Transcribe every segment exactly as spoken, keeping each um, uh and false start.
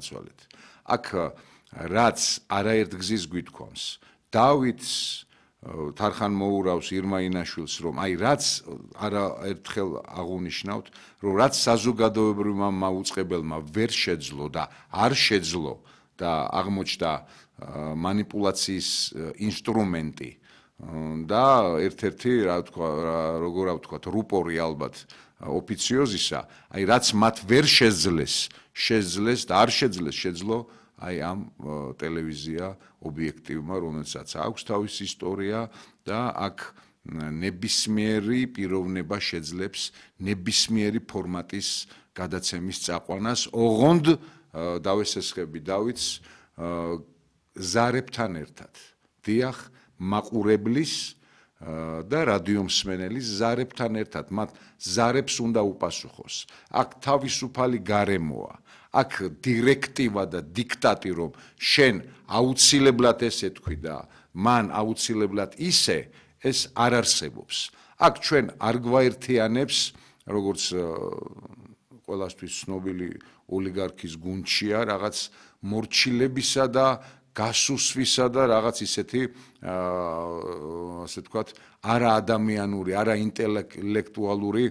ცვალეთ. აქ რაც არაერთგზის გვითქვამს, დავითს თარხან მოურავს ირმა ინაშვილს, რომ აი რაც არაერთხელ აღუნიშნავთ, რომ რაც საზოგადოებრივმა მაუწყებელმა ვერ შეძლო და არ შეძლო და აღმოჩნდა манипуляციის ინსტრუმენტი და ერთ-ერთი რა თქვა, როგორ ავთქვათ, რუპორი ალბათ ოფიციოზისა, აი რაც მათ ვერ შეძლეს, შეძლეს და არ შეძლეს, შეძლო აი ამ ტელევიზია ობიექტივმა, რომელსაც აქვს თავისი ისტორია და აქ ნებისმიერი პიროვნება შეძლებს ნებისმიერი ფორმატის გადაცემის წაყვანას, ოღონდ დავესესხები დავითს ზარებთან ერთად. დიახ, მაყურებლის და რადიომსმენელის ზარებთან ერთად, მათ ზარებს უნდა უპასუხოს. აქ თავისუფალი გარემოა. აქ დირექტივა და დიქტატი, რომ შენ აუცილებლად ესე თქვი და მან აუცილებლად ისე, ეს არ არსებობს. აქ ჩვენ არ გვაერთიანებს, როგორც ყველასთვის ცნობილი ოლიგარქის გუნდშია, რაღაც მორჩილებისა და გასუსვისა და რაღაც ისეთი, ასე ვთქვათ, არაადამიანური, არაინტელექტუალური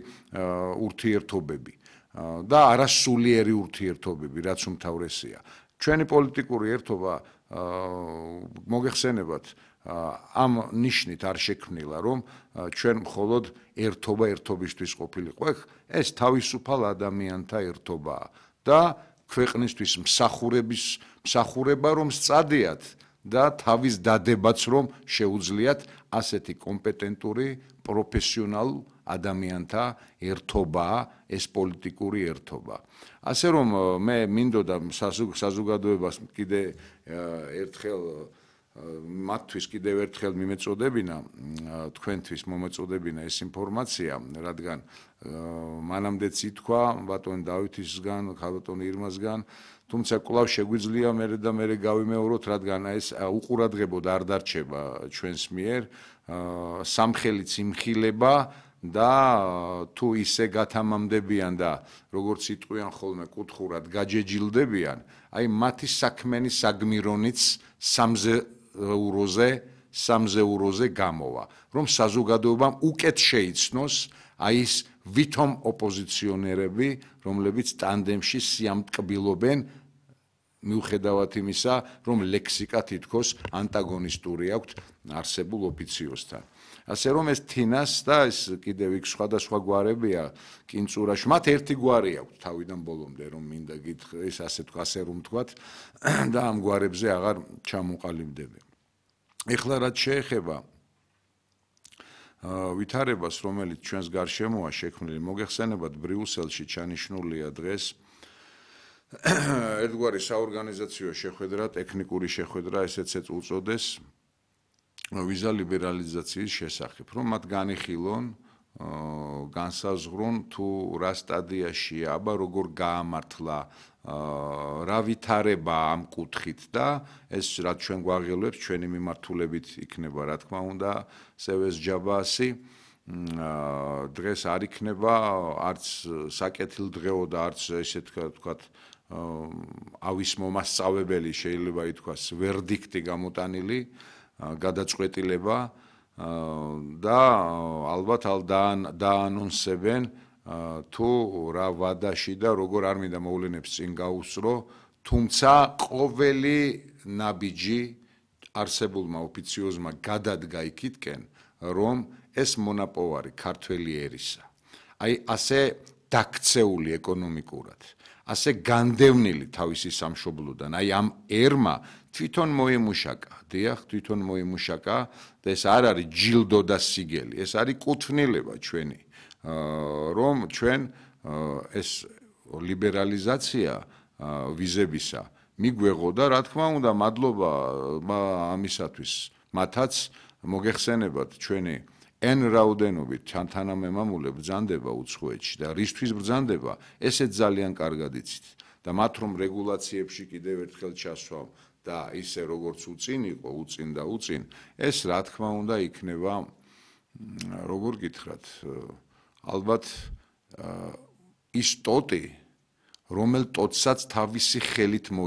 ურთიერთობები. და არასულიერი ურთიერთობები, რაც უმთავრესია. ჩვენი პოლიტიკური ერთობა მოგეხსენებათ, ამ ნიშნით არ შექმნილა, რომ ჩვენ მხოლოდ ერთობა ერთობისთვის ყოფილიყო. ეს თავისუფალ ადამიანთა ერთობაა და ქვეყნისთვის მსახურების მსახურება რომ სწადიათ და თავის დადებაც რომ შეუძლიათ ასეთი კომპეტენტური პროფესიონალ ადამიანთა ერთობაა ეს პოლიტიკური ერთობა. ასე რომ მე მინდოდა საზოგადოებას კიდე ერთხელ მათთვის კიდევ ერთხელ მიმეწოდებინა, თქვენთვის მომეწოდებინა ეს ინფორმაცია, რადგან მანამდეც ითქვა ბატონ დავითისგან, ბატონ ირმასგან, თუმცა კვლავ შეგვიძლია მერე და მერე გავიმეოროთ, რადგან ეს უყურადღებოდ არ დარჩება ჩვენს მიერ, სამხელიც იმხილება და თუ ისე გათამამდებიან და როგორც იტყვიან ხოლმე კუთხურად გაჯეჯილდებიან, აი მათი საქმენი საგმირონიც სამზე ევროზე, სამზე ევროზე გამოვა, რომ საზოგადოებამ უკეთ შეიცნოს აი ის ვითომ ოპოზიციონერები, რომლებიც ტანდემში სიამტკბილობენ მიუხედავად იმისა, რომ ლექსიკა თითქოს ანტაგონისტური აქვთ არსებულ ოფიციოსთან. ასე რომ ეს თინას და ეს კიდევ იქ სხვადასხვა გვარებია კინწურაში, მათ ერთი გვარი აქვთ თავიდან ბოლომდე, რომ მინდა გითხრა, ეს ასე თქვა, ასე რომ თქვათ და ამ გვარებზე აღარ ჩამოყალიბდები. ეხლა რაც შეეხება ვითარებას, რომელიც ჩვენს გარშემოა შექმნილი, მოგეხსენებათ ბრიუსელში ჩანიშნულია დღეს ერთგვარი საორგანიზაციო შეხვედრა, ტექნიკური შეხვედრა, ესეც უწოდეს ვიზა ლიბერალიზაციის შესახებ, რომ მათ განიხილონ, განსაზღვრონ თუ რა სტადიაშია, აბა როგორ გაამართლა, რა ვითარება ამ კუთხით და ეს რაც ჩვენ გვაღელვებს, ჩვენი მიმართულებით იქნება, რა თქმა უნდა, სევეს ჯაბასი დღეს არ იქნება არც საკეთილდღეო და არც ესე ვთქვათ ავის მომასწავებელი შეიძლება ითქვას ვერდიქტი გამოტანილი გადაწყვეტილება და ალბათ დაანონსებენ თუ რა ვადაში და როგორ არ მინდა მოვლენებს წინ გაუსწრო, თუმცა ყოველი ნაბიჯი არსებულმა ოფიციოზმა გადადგა იქითკენ, რომ ეს მონაპოვარი ქართველი ერისა. აი ასე დაქცეული ეკონომიკურად, ასე განდევნილი თავისი სამშობლოდან, აი ამ ერმა თვითონ მოიმუშაკა, დიახ, თვითონ მოიმუშაკა და ეს არ არის ჯილდო და სიგელი, ეს არის კუთვნილება ჩვენი, რომ ჩვენ ეს ლიბერალიზაცია ვიზებისა მიგვეღო და რა თქმა უნდა, მადლობა ამისათვის მათაც მოგეხსენებათ ჩვენი N რაოდენობით თანამემამულე ბრძანდება უცხოეთში და რისთვის ბრძანდება, ესეც ძალიან კარგად იცით და მათ რომ რეგულაციებში კიდევ ერთხელ ჩასვავ და ისე როგორც უწინ იყო, უწინ და უწინ, ეს რა თქმა უნდა იქნება, როგორ გითხრათ, ალბათ ის ტოტი, რომელ ტოტსაც თავისი ხელით